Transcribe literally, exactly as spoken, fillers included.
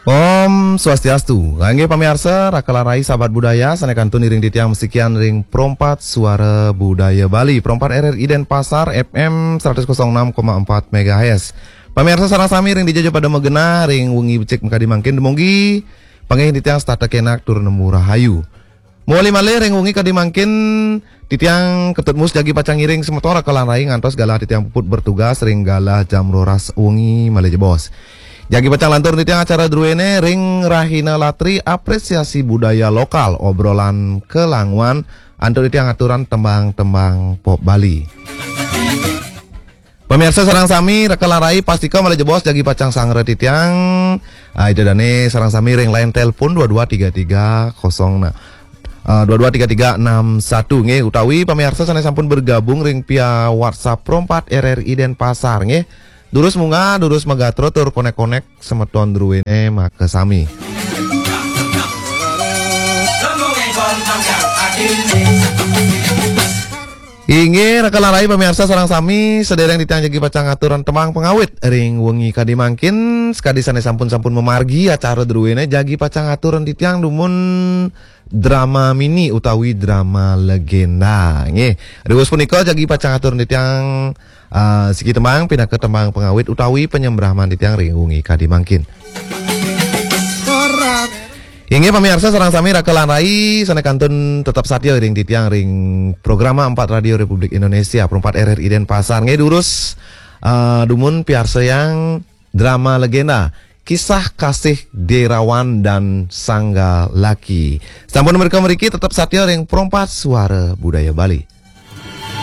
Om Swastiastu. Kanggé pamiarsa, raka lan rai sahabat budaya, sané kantun iring titiang masikian ring Pro empat Suara Budaya Bali, Pro empat R R I Denpasar, F M seratus kosong enam koma empat megahertz. Pamiarsa sareng sami ring dija ja pada magenah, ring wengi becik makadi mangkin, dumogi panggih titiang setata kénak tur nemu rahayu. Mawali malih ring wengi kadi mangkin, titiang Ketut Mus jagi pacang ngiring semeton raka lan rai ngantos galah titiang puput bertugas ring galah jam roras wengi malih jebos. Jagi pacang lantur titiang acara druéné ring Rahina Latri, apresiasi budaya lokal, obrolan kelanguan, antuk titiang aturan tembang-tembang pop Bali. Pamiarsa sareng sami, raka lan rai, pastika malih jebos jagi pacang sangra titiang. Ah, ida dané sareng sami ring line telepon dua dua tiga tiga kosong, nah, ah, dua dua tiga tiga enam satu nggih, utawi pamiarsa sané sampun bergabung ring via WhatsApp Pro empat R R I Denpasar nggih. Durus munggah, durus magatra tur konek-konek semeton druéné makasami. Inggih, raka lan rai pamiarsa sareng sami, sadéréng titiang jagi pacang ngaturang tembang pangawit ring wengi kadi mangkin, sakadi sané sampun-sampun mamargi acara druéné jagi pacang ngaturang titiang dumun drama mini utawi drama legenda. Nggih, riwus punika jagi pacang ngaturang titiang, ah, siki tembang pinaka tembang pangawit utawi panyembraman titiang ring wengi kadi mangkin. Inggih pamiarsa sareng sami, raka lan rai sané kantun tetep satia ring titiang ring Programa empat Radio Republik Indonesia, Pro empat R R I Denpasar. Nggih, durus, ah, dumun piarsayang drama legenda, Kisah Kasih Derawan dan Sangga Laki. Sampun mrika mriki tetep satia ring Pro empat Suara Budaya Bali.